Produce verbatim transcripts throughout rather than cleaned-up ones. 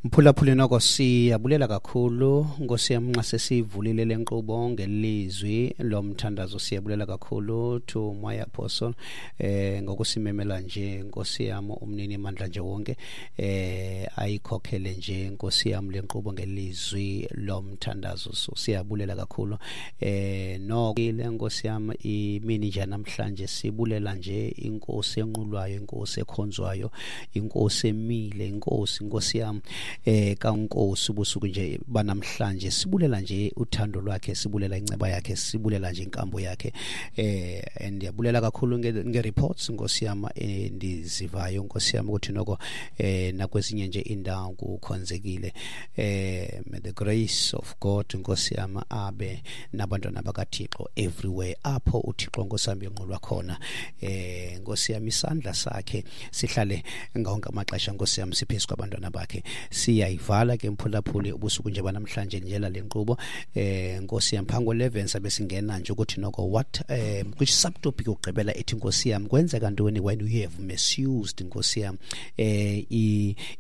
Mphulaphuli, noko siyabulela kakhulu, Nkosi yam, nxa sesivulile le nkqubo ngelizwi lomthandazo. Siyabulela kakhulu to my apostle eh ngokusimemela nje, Nkosi yam, umnini mandla nje wonke eh ayikhokhele nje, Nkosi yam, le nkqubo ngelizwi lomthandazo. So siyabulela kakhulu eh noko le, Nkosi yam, imini nje namhlanje sibulela nje inkosi enqulwayo, inkosi ekhonzwayo, inkosi emile, inkosi, Nkosi yam, eh kaNkosi. Ubusuku nje banamhlanje sibulela nje uthando lwakhe, sibulela inceba yakhe, sibulela nje inkambo yakhe. eh ndiyabulela kakhulu nge-reports, Nkosi yam, endizivayo, Nkosi yam, ukuthi noko eh nakwezinye nje indawo kukhonzekile. eh may the grace of God, Nkosi yam, abe nabantwana bakaThixo everywhere apho uThixo, Nkosi yam, enqulwa khona. eh Nkosi yam, isandla sakhe sihlale ngawonke amaxesha, Nkosi yam, siphezu kwabantwana bakhe. Siyayivala ke, mphulaphuli, ubusuku nje banamhlanje njela le nkqubo, eh Nkosi yam, phambi eleven sabe singena nje ukuthi noko what eh which subtopic yokugqibela ethi, Nkosi yam, kwenzeka ntoni when you have misused, Nkosi yam, eh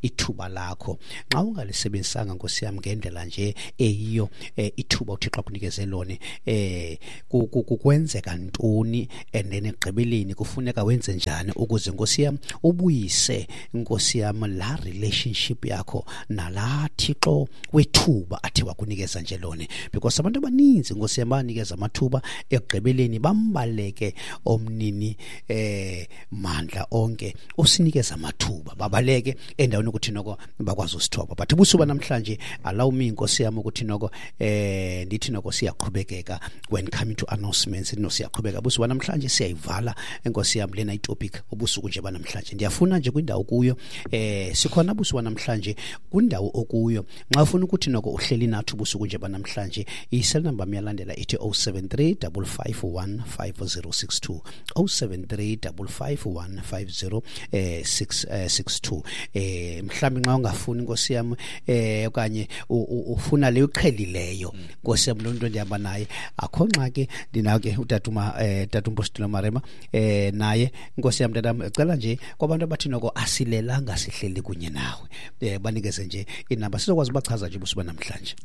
ithuba lakho, xa ungalisebenzisanga, Nkosi yam, ngendlela nje eyiyo eh, ithuba uThixo akunikeze lona, eh kwenzeka ntoni? And then ekugqibeleni kufuneka wenze njani ukuze, Nkosi yam, ubuyise, Nkosi yam, la relationship yakho nala Thixo wethuba athi wakunikeza nje lona? Because abantu abaninzi, Nkosi yam, banikeza amathuba, ekugqibeleni bambaleke omnini eh mandla onke osinikeza amathuba, babaleke endaweni ukuthi noko bakwazi usithoba. But ubusuku namhlanje, allow me, Nkosi yam, ukuthi noko eh ndithi noko siyaqhubekeka when coming to announcements. No, siyaqhubeka ubusuku namhlanje, siyayivala, Nkosi yam, lena itopic ubusuku nje banamhlanje. Ndiyafuna nje kwindawo kuyo eh sikhona ubusuku namhlanje, kwindawo okuyo, nxa ufuna ukuthi noko uhleli nathi ubusuku nje banamhlanje, i-cell number miyalandela ithi zero seven three five five one five zero six two, zero seven three five five one five zero eh six six two. eh mhlawumbe nxa ungafuni, Nkosi yam, eh okanye ufuna leyo uqhelileyo, Nkosi yam, lo nto ndihamba naye, akho ngxaki. Ndinawo ke utatuma eh tata uMpostile Marema, eh naye, Nkosi yam, tatam, cela nje kwabantu abathi noko asilelanga sihleli kunye nawe, eh banikeze nje inamba sizokwazi ubachaza nje ubusuku namhlanje.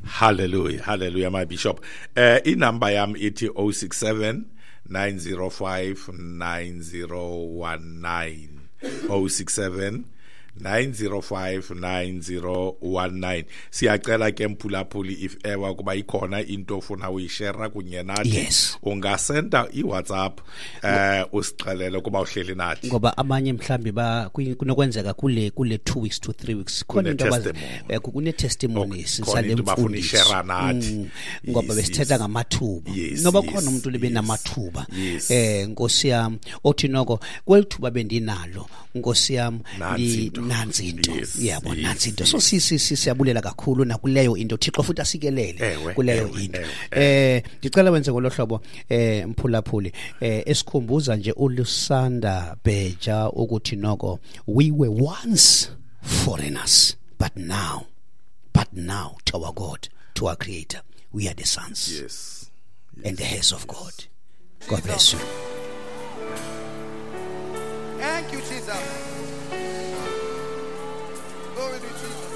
Hallelujah, hallelujah, my bishop. Eh inamba yam ithi zero six seven nine zero five nine zero one nine, zero six seven nine zero five nine zero one nine. Siyacela ke, mphulaphuli, if ever kuba ikhona into ofuna uyishare kunye nathi, Yes. ungasenda iWhatsApp eh usixelele kuba uhleli nathi. Ngoba abanye mhlambi ba kwi- kunokwenzeka kule kule two weeks to three weeks khona into abazi- Kune-testimony. eh, kune-testimonies Khona sale into bafuna mfundiso. ishare nathi. Mm, ngoba Yes, besithetha yes. ngamathuba. Yes, Noba yes, khona umuntu libe yes. namathuba, Yes. eh Nkosi yam, othi noko kweli thuba bendinalo, Nkosi yam, Nansi ndi- into. nansi into. Yes, Yabo, yes, nansi into. So si si si- siyabulela kakhulu nakuleyo into. Thixo futhi asikelele Ewe, kuleyo ewe, into. ewe, eh ndicela wenze ngolo hlobo, eh mphulaphuli, eh esikhumbuza nje uLusanda Beja ukuthi noko we were once foreigners, but now but now to our God, to our creator, we are the sons yes and the heirs of God. God bless you. Thank you, Jesus. Glory to Jesus.